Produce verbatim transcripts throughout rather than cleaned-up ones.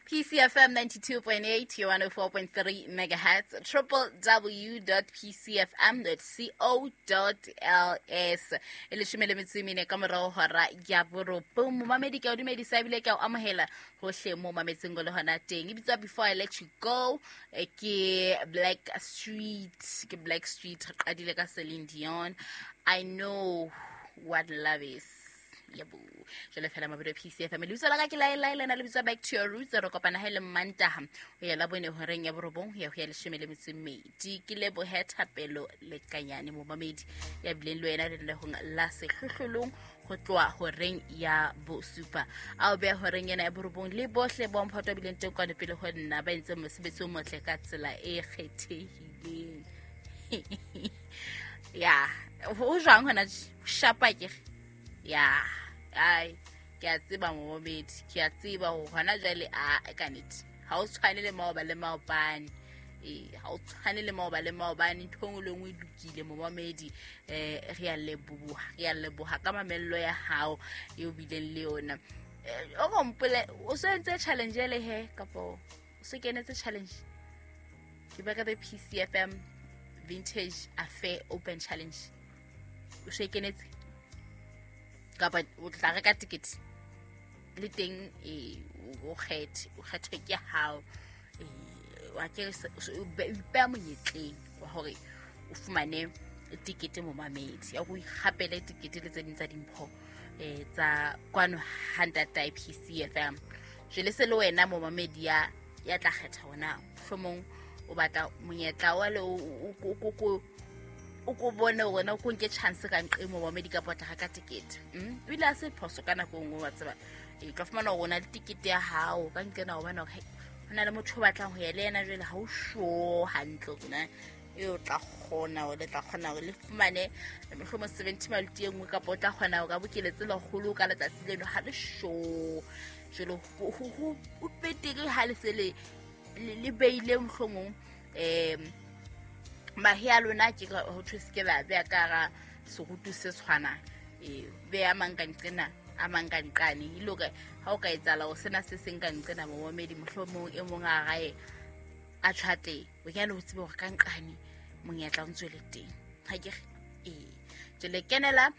P C F M ninety-two point eight, one oh four point three megahertz, triple w dot p c f m dot co dot l s. E leshome le metso e mene ka morao hora ya borobong. Momamedi ke o dumedisa ebile ke o amohela hohle mo mametseng go le hona teng. E bitswa Before I Let You Go, ke Black Street, ke Black Street re qadile ka Celine Dion. I know what love is. Yebo. Jwale fela mabelo P C F M. Lebitso la ka ke la la lena le bitswa Back to Your Roots. Re kopana ha le Mantaha. Ho ya la bone horeng ya borobong ho ya ho ya leshome le metso e mmedi. Ke lebohe Thapelo Lekanyane momamedi ya bileng le wena lenanehong la sehlohlolong ho tloha horeng ya bosupa. A o beha horeng ena ya borobong le bohle bo mphato bileng teng kwana pele ho nna ba entseng mosebetsi o motle ka tsela e kgethehileng. Ya, ho jwang hona shapa ke? Ya, ai ke a tseba momamedi, ke a tseba hore hona jwale a ka nnete ha o tshwane le maoba le maobane. Eh, ha o tshwane le maoba le maobane, ntho e nngwe le nngwe e lokile momamedi. Eh, re a leboha, re a leboha ka mamello ya hao eo bileng le yona. O go mpole o se entse challenge ele he kapa o se kenetse challenge? Ke ba ka the P C F M Vintage Affair Open Challenge. O se kenetse kapa o tla reka ticket le teng e o kgethe, o kgethwe ke hao. Eh, wa ke o ipeha monyetleng wa hore o fumane ticket momamedi ya go ikgapele ticket le tse ding tsa dimpho eh tsa kwano ha ntatae P C F M. Jwale se le wena momamedi ya ya tla kgetha hona mohlomong o batla monyetla wa le o o o ko bone hore na o ko nke chance ka nqe momamedi kapa o tla reka ticket. Mm o ile a se phoso ka nako e nngwe wa tseba. E tla fumana hore o na le ticket ya hao ka nqena o bona hore ho na le motho o batlang ho ya le yena jwale ha o sure hantle hore na e o tla kgona hore le tla kgona hore le fumane mohlomong seventy maluti e nngwe kapa o tla kgona hore a bokeletse lekgolo ka letsatsi leno ha le sure. Jwale ho o betere ha le se le le beile mohlomong em mahe a lona ke ho thwe se ke ba beha ka hara serutu se tshwanang. E beha mang ka nqena a mang ka nqane e le hore ha o ka etsahala hore sena se seng ka nqena momamedi mohlomong e mong a rae a tjhate o kena ho tsebe hore ka nqane monyetla o ntse le teng. Ha ke re ee jwale kenela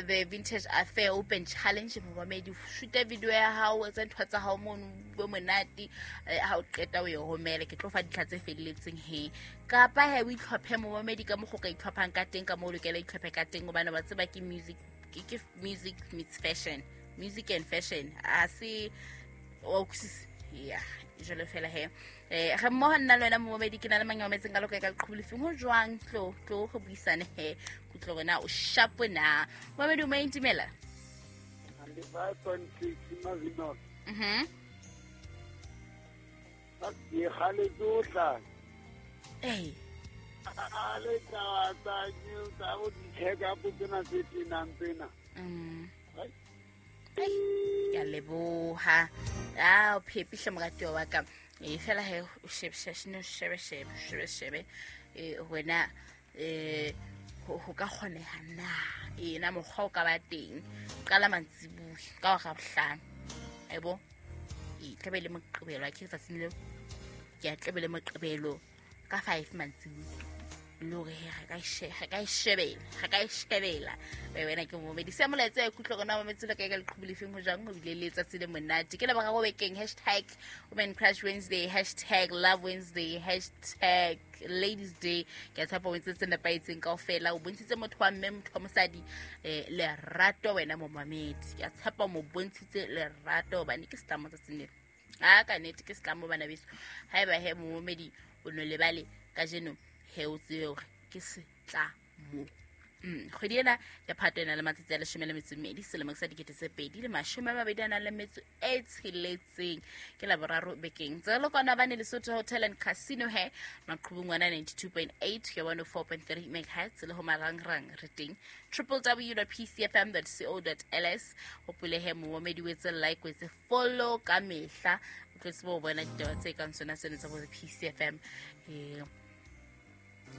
the Vintage Affair Open Challenge momamedi, shoota video ya hao, etsa ntho tsa hao mono bo monate ha o qeta o e romele. Ke tlo fa ditlha tse felletseng he kapa he o itlhophe momamedi ka mokgwa o ka itlhophang ka teng ka moo o lokela itlhophe ka teng hobane wa tseba ke music, ke music meets fashion, music and fashion a se o ya jwale fela he. Eh re mmoho nna le wena momamedi ke na le mang metseng ka loka ka leqhubu lefeng ho jwang tlo tlo go buisane he kutlo rena o sharp na momamedi o maintimela ninety-five point six Mavinot. Mhm. Ke gale tsotlha. Eh. A le tsa tsa new tsa go di check up tsena tse tenang tsena. Mm. Ke a leboha. Ah, o phepihle moratuwa wa ka. E fela he o shebe shebe shebe shebe shebe shebe e wena eh ho ka kgoneha na e na mokgwa o ka ba teng qala mantsibuya ka hora bohlano ebo e tlabe le moqebelo a ke tsatsing leo ke a tlabe le moqebelo ka five mantsibuya le hore re ka re ka shebela re ka shebela wena ke momedi se molaetsa e kutlwa rona mametse le ka ka leqhubu lefeng ho jwang ho bile le letsatsi le monate ke leboga go bekeng hashtag Women Crush Wednesday, hashtag Love Wednesday, hashtag Ladies Day. Ke a tshepa o entse tse nepahetseng kaofela o bontshitse motho wa mme motho wa mosadi eh lerato wena momamedi ke a tshepa mo bontshitse lerato hobane ke setlamo tsatsing lena a ka nnete ke setlamo bana beso haeba he momamedi o no lebale kajeno he o tsebe hore ke setlamo. Mm kgwedi ena ya Phato ena le matsatsi a leshome le metso e mmedi selemo sa dikete tse pedi le mashome a mabedi a nang le metso e tsheletseng ke Laboraro bekeng tse le kwana bane Lesotho Hotel and Casino he maqhubung wana ninety-two point eight ya one oh four point three megahertz le ho marangrang re teng triple w dot p c f m dot co dot l s hopole he momamedi o etse like o etse follow ka mehla o tlo tsebe ho bona ditaba tse kang sona sena tsa bo P C F M eh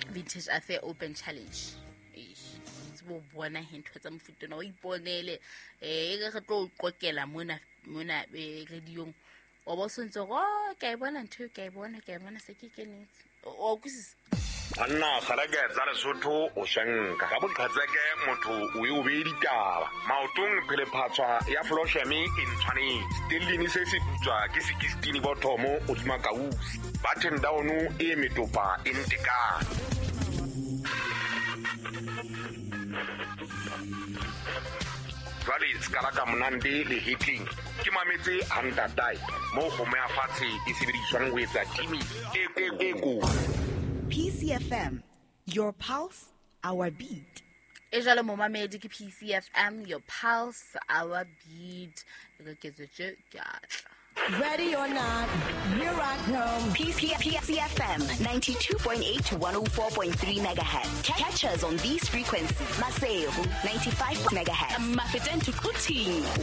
Vintage Affair Open Challenge. Tsebo bona he ntho tsa mofuta o iponele eh e re tlo o qokela mona mona radiong O bo sentse go ke a bona ntho ke a bona ke a bona se ke kenetse. O kwisisa. Anna kgaleke tsa Lesotho o shanka ka boqhatseke motho o e o be ditaba maotong phele phatswa ya flosheme e ntshwanetse stellini se se putswa ke sixteen bothomo o dima kausi button down e metopa e ntekane. Jwale skala ka monande le hitling ke mametse hantatai mo kgomo ya fatshe e sebediswang ho etsa timi e e ko. P C F M, your pulse, our beat. E jalo momamedi ke P C F M, your pulse, our beat. Re ke tsetse ke atla. Ready or not, here I come. P C F M ninety-two point eight to one oh four point three megahertz. Catch us on these frequencies. Maseru ninety-five megahertz. Mafeteng to Quthing